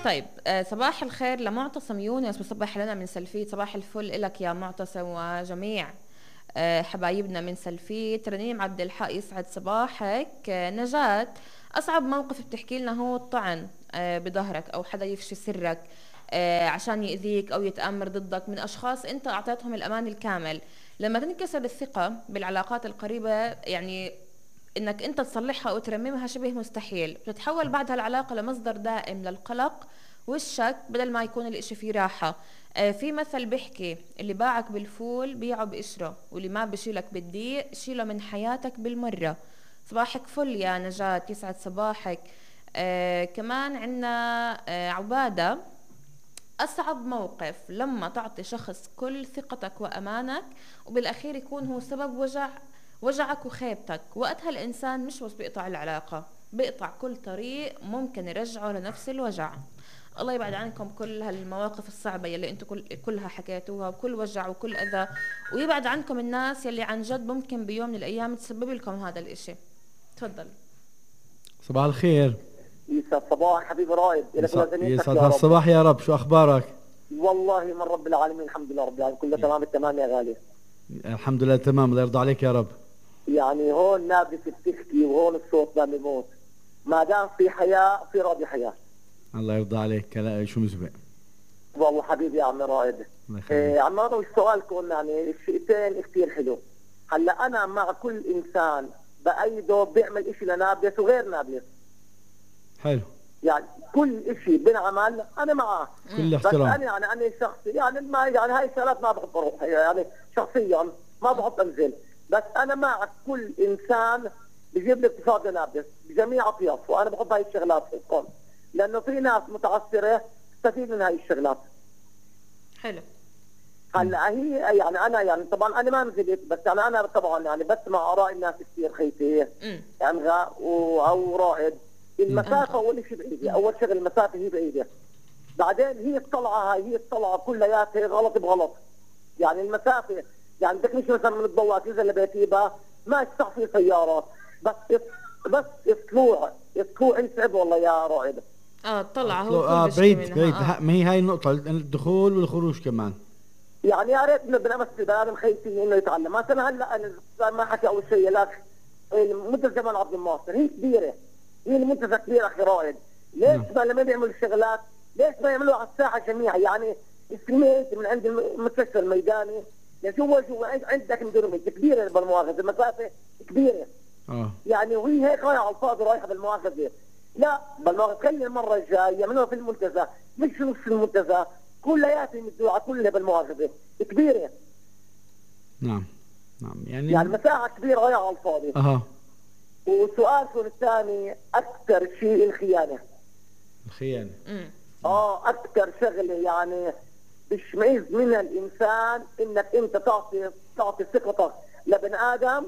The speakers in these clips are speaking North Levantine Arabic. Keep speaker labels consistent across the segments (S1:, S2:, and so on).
S1: طيب صباح الخير لمعتصم يونس، بصبح لنا من سلفيت. صباح الفل إلك يا معتصم وجميع حبايبنا من سلفيت. رنيم عبد الحق يسعد صباحك. نجاة، أصعب موقف بتحكي لنا هو الطعن بظهرك أو حدا يفشي سرك عشان يأذيك أو يتآمر ضدك من أشخاص أنت أعطيتهم الأمان الكامل. لما تنكسر الثقة بالعلاقات القريبة يعني انك انت تصلحها او ترممها شبه مستحيل، بتتحول بعدها العلاقة لمصدر دائم للقلق والشك بدل ما يكون الاشي فيه راحة. في مثل بيحكي اللي باعك بالفول بيعه بقشره، واللي ما بشيلك بالضيق شيله من حياتك بالمرة. صباحك فل يا نجاة، يسعد صباحك. كمان عنا عبادة، أصعب موقف لما تعطي شخص كل ثقتك وأمانك وبالأخير يكون هو سبب وجعك وخيبتك. وقتها الإنسان مش بس بيقطع العلاقة، بيقطع كل طريق ممكن يرجعه لنفس الوجع. الله يبعد عنكم كل هالمواقف الصعبة يلي انتو كلها حكيتوها، وكل وجع وكل أذى، ويبعد عنكم الناس يلي عن جد ممكن بيوم من الأيام تسبب لكم هذا الإشي. تفضل.
S2: صباح الخير.
S3: يسعد صباح حبيبي رائد.
S2: يسعد هالصباح يا رب. شو أخبارك؟
S3: والله من رب العالمين الحمد لله رب العالمين، كله تمام التمام يا غالي.
S2: الحمد لله تمام، الله يرضى عليك يا رب.
S3: يعني هون نابلس بتحكي وهون الصوت ما بيموت، ما دام في حياة في راضي حياة.
S2: الله يرضى عليك. شو مسبق
S3: والله حبيبي يا عم رائد. عم رائد سؤالكم يعني الشيئتين كثير حلو. هلا انا مع كل انسان بايده بيعمل اشي لنابلس وغير نابلس.
S2: حلو.
S3: يعني كل اشي بنعمل انا معاه
S2: كل احترام.
S3: بس انا شخصي يعني ما يعني هاي الشغلات ما بحب اروح يعني شخصيا ما بحب انزل، بس انا مع كل انسان بجيب لي اقتصاد نابلس بجميع اطيافه، وانا بحب هاي الشغلات فيكم لانه في ناس متعثره تستفيد من هاي الشغلات.
S1: حلو.
S3: هلا هي يعني انا يعني طبعا انا ما نزلت، بس يعني انا طبعا يعني بسمع اراء الناس كثير خيتي يعني او رائد. المسافة أول شيء بعيدة، أول شغل المسافة هي بعيدة. بعدين هي الطلعة كلياتها غلط بغلط. يعني المسافة يعني بدك مش مثلا من الضوء تنزل لبيتيبا ما يستطيع في سيارات، بس الطلوع يصعب والله يا رائد.
S1: الطلعة هو
S2: بعيد. ما هي هاي النقطة، الدخول والخروج كمان.
S3: يعني يا ريت انه بنمس البني ادم خيتي انه يتعلم. مثلا هلا انا ما حكي اول شيء لك منتزه جمال عبد الناصر هي كبيرة، هي المنتزه كبير اخي رائد. ليش ما لما يعملوا الشغلات ليش ما يعملوها على الساحه جميعا؟ يعني استميت من عند المستشفى الميداني جوا عندك مدرمه كبيره بالمؤاخذه، المسافه كبيره. يعني وهي هيك رايحه على الفاضي رايحه بالمؤاخذه. لا بالمؤاخذه خلي المره الجايه يعملوها في المنتزه، مش في نص المنتزه كلياتهم مدوعه كلها بالمؤاخذه كبيره.
S2: نعم
S3: يعني مساحه كبيره رايحه على الفاضي. وسؤالكم الثاني اكثر شيء الخيانه. اكثر شغله يعني بشمئز منها الانسان انك انت تعطي ثقتك لبن ادم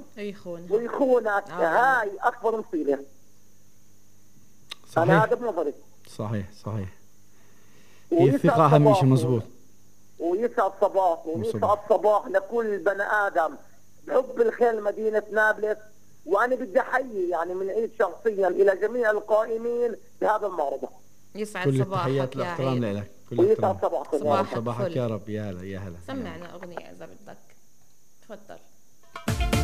S3: ويخونك. هاي اكبر مصيبه.
S2: صحيح.
S3: انا هذا بنظري.
S2: صحيح. هي الثقه اهم شيء. مزبوط.
S3: ويسعد صباح لكل بني ادم بحب الخير لمدينه نابلس. وانا بدي احيي يعني من عيد شخصيا الى جميع القائمين بهذا المعرض.
S1: يسعد
S2: كل
S1: صباحك
S2: التحيات
S1: يا
S2: والاحترام لك.
S3: ويسعد
S1: صباحك
S2: يا رب. يا هلا
S1: سمعنا اغنيه اذا بدك. تفضل.